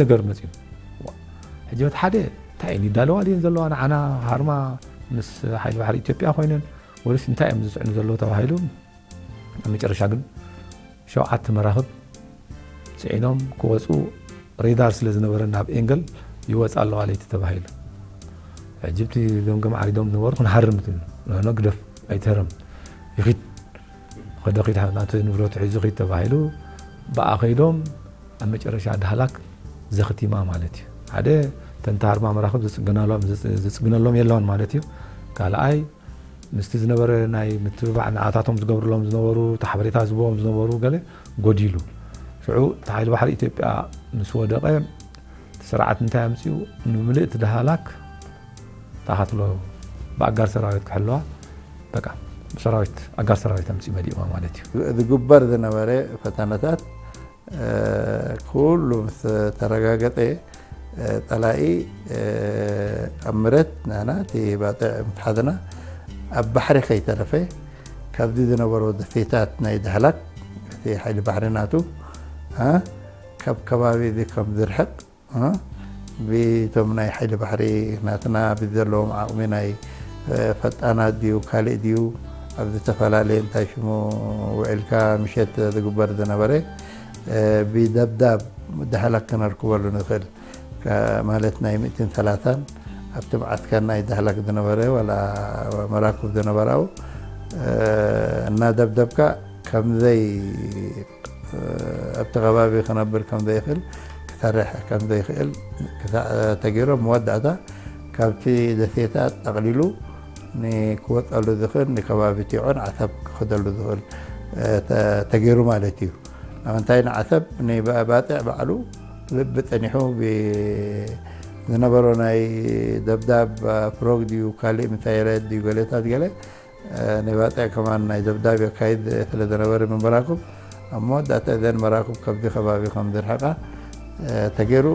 ነገር መፅዩ። ሕጂ በቲ ሓደ እንታይ እየን ይዳለዋ ድየን ዘለዋ ንዓና ሃርማ ምስ ሓይሊ ባሕሪ ኢትዮጵያ ኮይነን ወይስ እንታይ እዮም ዝፅዕኑ ዘለዉ ተባሂሉ ኣብ መጨረሻ ግን ሸውዓተ መራኽብ ፅዒኖም ክወፁ ሬዳር ስለ ዝነበረ ናብ ኤንገል ይወፃ ኣለዋ ለይቲ ተባሂሉ። ሕጂ እቲ ገምገም ዓሪዶም ዝነበሩ ክንሃርም ትብሉ። ኖ፣ ኖ፣ ግደፍ፣ ኣይትህረም። ይኺድ። ኸደ ኺድ፣ ናቱ ንብረቱ ሒዙ ኺድ ተባሂሉ። ብኣ ኸይዶም ኣብ መጨረሻ ዳህላክ ዘኽቲማ ማለት እዩ። ሓደ፣ ተን ተሃርማ መራኽብ ዝጽገናሎም፣ ዝጽ-፣ ዝጽግነሎም የለውን ማለት እዩ። ካልኣይ፣ ምስቲ ዝነበረ ናይ ምትብባዕ ንኣታቶም ዝገብርሎም ዝነበሩ፣ እቲ ሓበሬታ ዝህብዎም ዝነበሩ ገለ ጎዲሉ። ሽዑ እቲ ሓይሊ ባሕሪ ኢትዮጵያ ምስ ወደቐ፣ እቲ ስርዓት እንታይ ኣምጺኡ? ንምልእቲ ዳህላክ ተኻትሎ ብኣጋር ሰራዊት ክሕልዋ፣ በቃ፣ ሰራዊት፣ ኣጋር ሰራዊት ኣምጺኡ መሊእዋ ማለት እዩ። ዝግበር ዝነበረ ፈተነታት፣ እ፣ ኩሉ ምስ ተረጋገጠ፣ እ፣ ጸላኢ፣ እ፣ ኣብ ምረት ንሕና እቲ ባጽዕ ምትሓዝና ኣብ ባሕሪ ከይተረፈ ካብዚ ዝነበሮ ደሴታት ናይ ዳህላክ እቲ ሓይሊ ባሕሪ ናቱ፣ እ፣ ካብ ከባቢ እዚ ከም ዝርሕቕ፣ እ፣ ብቶም ናይ ሓይሊ ባሕሪ ናትና ብዘለዎም ዓቕሚ ናይ፣ እ፣ ፈጣናት ድዩ ካልእ ድዩ ኣብ ዝተፈላለየ እንታይ ሽሙ ውዒልካ ምሸት ዝግበር ዝነበረ፣ እ፣ ብደብዳብ ዳህላክ ክነርክበሉ ንኽእል። ከ-፣ ማለት ናይ ሚእትን ሰላሳን ኣብቲ መዓስከር ናይ ዳህላክ ዝነበረ ዋላ መራክብ ዝነበራው፣ እ፣ እናደብደብካ ከምዘይ፣ እ፣ ኣብቲ ከባቢ ክነብር ከምዘይኽእል፣ ክሰርሕ ከምዘይኽእል ክሳ-፣ ተገይሩ፣ መወዳእታ ካብቲ ደሴታት ጠቕሊሉ ንክወፀሉ ዝኽእል፣ ንከባቢ ቲዖን ዓሰብ ክኸደሉ ዝኽእል፣ እ፣ ተ-፣ ተገይሩ ማለት እዩ። ንምንታይ ንዓሰብ ንባፅዕ ባዕሉ ልቢ ፀኒሑ ብ-፣ ዝነበሮ ናይ ደብዳብ ፍሮግ ድዩ ካልእ ምሳይለት ድዩ ገሌታት ገለ፣ እ፣ ንባፅዕ ከማን ናይ ደብዳብ የካይድ ስለ ዝነበረ መራክብ፣ ኣብ መወዳእታ እዘን መራክብ ካብዚ ከባቢ ከም ዝርሕቃ፣ እ፣ ተገይሩ።